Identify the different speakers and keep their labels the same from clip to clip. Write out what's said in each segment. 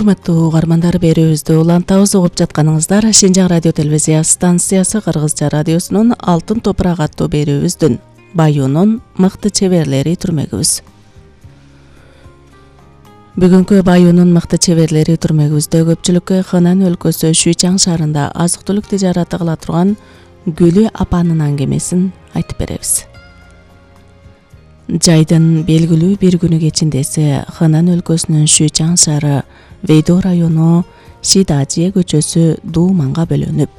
Speaker 1: Урматтуу угармандар, берүүбүздү улантабыз. Угуп жатканыңыздар Шинжаң радио телевизия станциясы Кыргызча радиосунун Алтын топурак аттуу берүүбүздүн Баюунун мыкты чеберлери түрмөгүбүз. Бүгүнкү Баюунун мыкты чеберлери түрмөгүбүздө көпчүлүккө Хэнань өлкөсү Шүйчаң шаарында азык-түлүк тижараты кыла турган Гүлү апанын аңгемесин айтып беребиз. Жайдын белгилүү бир күнү кечинде Хэнань өлкөсүнүн Шүйчаң шаары Вэйдо району Шидажие көчөсү дууманга бөлөнүп,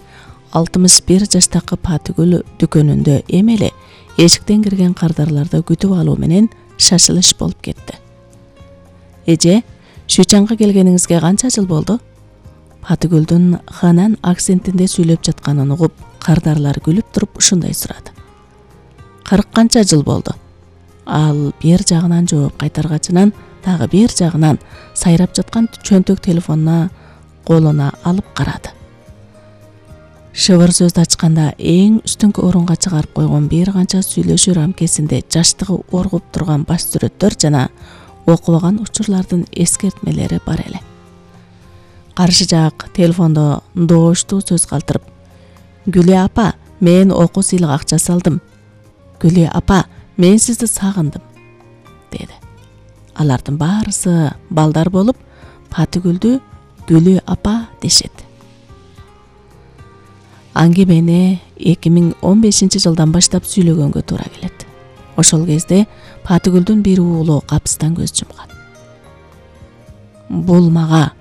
Speaker 1: 61 жаштагы Патыгүл дүкөнүндө эми эле эшиктен кирген кардарларды күтүп алуу менен шашылыш болуп кетти. Эже, Шүйчаңга келгениңизге канча жыл болду? Патыгүлдүн Хэнань акцентинде сүйлөп жатканын угуп, кардарлар күлүп туруп ушундай сурады. 40 канча жыл болду? Ал бир жагынан жооп кайтаргачынан дагы бир жагынан сайрап жаткан чөнтөк телефонуна колуна алып карады. Шыбыр сөздү ачканда эң үстүнкү орунга чыгарып койгон бир канча сүйлөшүү рамкесинде жаштыгы оргуп турган баш сүрөттөр жана окубаган учурлардын эскертмелери бар эле. Каршы жак телефондо дооштуу сөз калтырып: "Гүлү апа, мен окуу сыйлык акча салдым. Гүлү апа, мен сизди сагындым", деди. Алардын баарысы балдар болуп, Патыгүлдү Гүлү апа дешет. Аңгемени 2015 жылдан баштап сүйлөгөнгө туура келет. Ошол кезде Патыгүлдүн бир уулу капыстан көз жумган. "Бул мага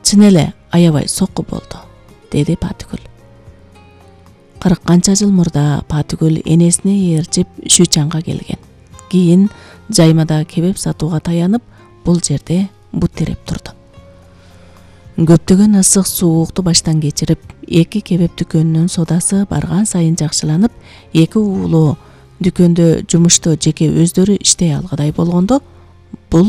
Speaker 1: чын эле аябай сокку болду", деди Патыгүл. 40 канча жыл мурда Патыгүл энесине ээрчип Шүйчаңга келген. Кийин жаймада кебеп сатууга таянып, бул жерде бут терип турду. Көптөгөн ысык суукту баштан кечирип, эки кебеп дүкөнүнүн содасы барган сайын жакшыланып, эки уулу дүкөндө жумушту жеке өздөрү иштей алгыдай болгондо, бул